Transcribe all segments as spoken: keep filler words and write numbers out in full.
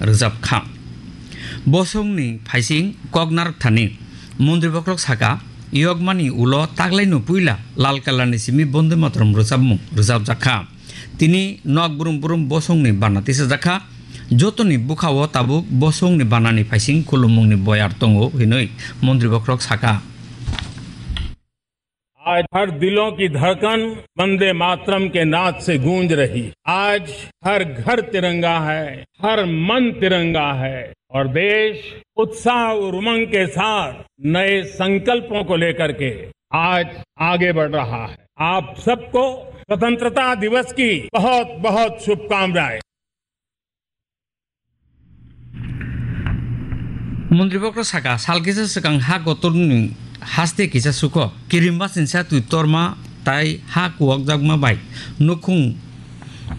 rwjap kha. Bosongni phaising kok narwk thani Montri Bokhorok saka, yokmani ulo taklaino puila lal kalarni simi Bonde Mataram rwchapmung rwchapjak kha. Tini nok brum brum bosongni bana tisajak kha. Jotoni bwkhao tabuk bosongni banani phaising khulumungni boyar tongo, hinwi Montri Bokhorok saka. आज हर दिलों की धड़कन वंदे मातरम के नाद से गूंज रही है। आज हर घर तिरंगा है, हर मन तिरंगा है और देश उत्साह और उमंग के साथ नए संकल्पों को लेकर के आज आगे बढ़ रहा है। आप सबको स्वतंत्रता दिवस की बहुत बहुत शुभकामनाएं। Montri Bokhorok saka, sal kisa swkang ha kotorni haste kisa suko, kirimba sinsa twi torma tai ha kuwakjakma bai nukhung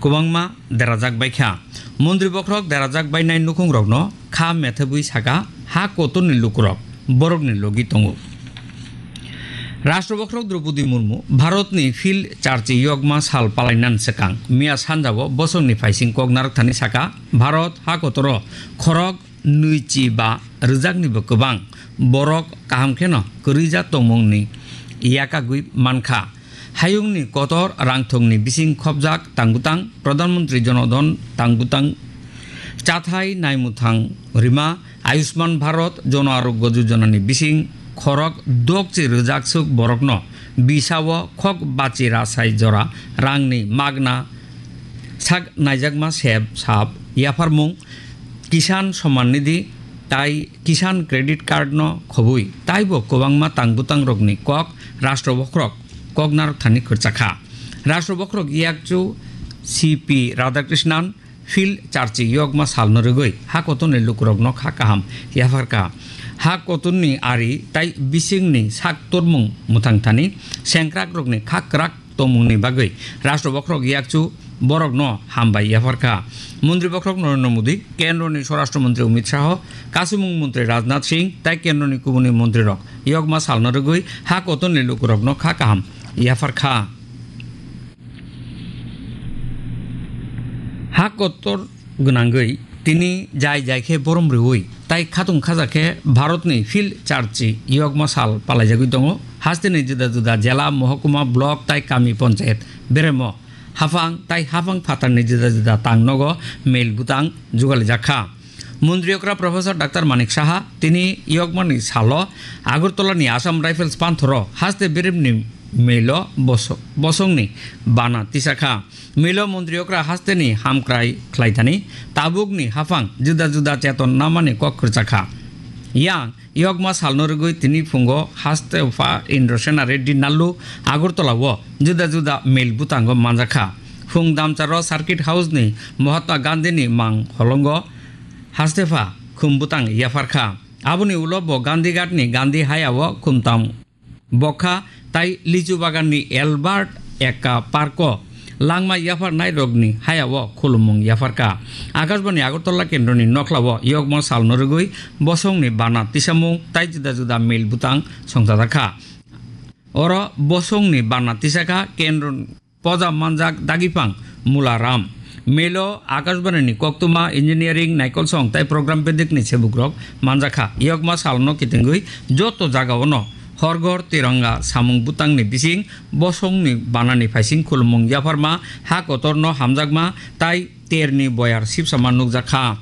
kwbangma derajak bai kha. Montri Bokhorok derajak bainai nukhungrokno kha methebwi saka, ha kotorni lukurok borokni logi tongo. Rashtra Bokhorok Droupadi Murmu Bharatni Phil Charchi Yokma Sal palainan swkang miya sanjao bosongni phaising kok narwkthani saka, Bharat ha kotoro khorok nwichi ba rwjaknibo kwbang borok kaham kheno kwrwija tongmungni yakagwi mankha. Hayungni kotor rangthongni bising khopjak tangbutang, Pradhan Mantri Jan Dhan tangbutang, chathai naimwthang rima, Ayushman Bharat Jan Arogya Yojana ni bising khorok dokchi rwjak swk borokno bisao khok bachi rasai jora rangni magna sak naijakma sep sap yapharmung, Kisan Samman Nidhi tai Kisan Credit Card no khobwi taibo kwbangma tangbutangrokni kok Rashtra Bokhorok kok narwkthani khurchakha. Rashtra Bokhorok yakchu C P Radhakrishnan Phil Charchi Yokma Salno rwgwi ha kotorni lukurokno kha kaham yapharkha. Ha kotorni ari tai bisingni sak tormung mwthangthani sengkrakrokni kha kwrak tongmungni bagwi Rashtra Bokhorok yakchu borokno hambai yapharkha. Montri Bokhorok Narendra Modi, Kendroni Swarashtra Mantri Amit Shah, Kasumung Mantri Rajnath Singh tai Kendroni kubuni montrirok Yokma Salno rwgwi ha kotorni lukurokno kha kaham yapharkha. Ha kotor gwnangwi tini jai jai khe borom rwui tai khatung khaja khe Bharatni Phil Charchi Yokma Sal palaijagwi tongo. Hasteni juda juda jela, mohokuma, block tai kami ponchayat beremo haphang tai haphang phatarni juda juda tang nogo mel butang jugalijak kha. Montri okra Professor Doctor Manik Saha tini Yokmani salo Agartala ni Assam Rifles panthoro haste beremni melo boso-, bosongni bana tisakha. Melo montri okra hasteni hamkrai khlaithani tabukni haphang juda juda cheton namani kok khurchakha. Yang Yokma Salno rwgwi tini phungo haste pha Indrasena Reddy Nallu Agartala o juda juda mel butango manjakha. Phung damcharo Circuit House ni Mahatma Gandhi ni mang holongo haste pha khum butang yapharkha. Aboni ulo bo Gandhi Ghat ni Gandhi Haya o khumtam bokha tai Lichu Bagan ni Albert Ekka Park o langma yapharnai rokni haya o khulumung yapharkha. Akashbani Agartala kendroni nokla o Yokma Salno rwgwi bosongni bana tisamung tai juda juda mel butang songchajakha. Oro bosongni bana tisakha kendro poja manjak dagipang Mula Ram. Melo Akashbani ni koktwma, engineering, naikolsong tai program bedekni sebukrok manjakha. Yokma Salno kitingwi joto jagaono horgor tiranga samung butangni bising bosongni banani phaising khulumung yapharma, ha kotorno hamjakma tai terni boyar sipsama nukjakha.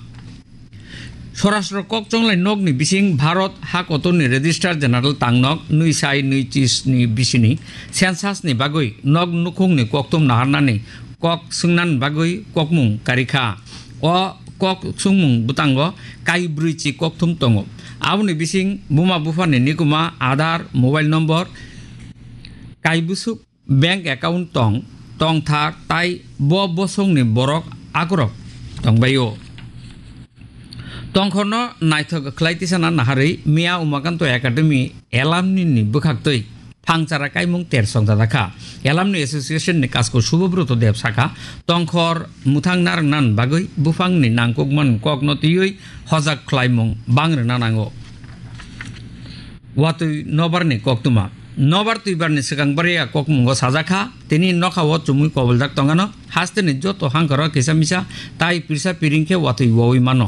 Swarashtra kok chonglai nokni bising Bharat ha kotorni Registrar General tangnok nwi sai nwi chisni bisini census ni bagwi nok nukhungni kokthum naharnani kok swngnani bagwi kokmung karikha. O kok swngmung bwtango kai brwi chi kokthum tongo. Aboni bising buma buphani nikuma, Aadhaar, mobile number, kai bwswk bank account tong, tongthar tai bo bosongni borok akorok tongbaio. Tongkhorno naithok khlai tisana naharwi Mia Umakanto Academy alumni ni bwkhaktwi phangchara kaimung ter songchajakha. Alumni Association ni kasko Subobroto Deb sakha, tongkhor mwthang narwknan bagwi buphangni nangkukman kokno twiwi hojak khlaimung bang rwna nango. Watwi nobarni koktwma. Nobar twibarni swkang bariya kokmungo sajakha, tini nokhao chumui koboljak tongano, hasteni joto hangkaro kisa misa tai pirsa piring khe watwi wawi mano.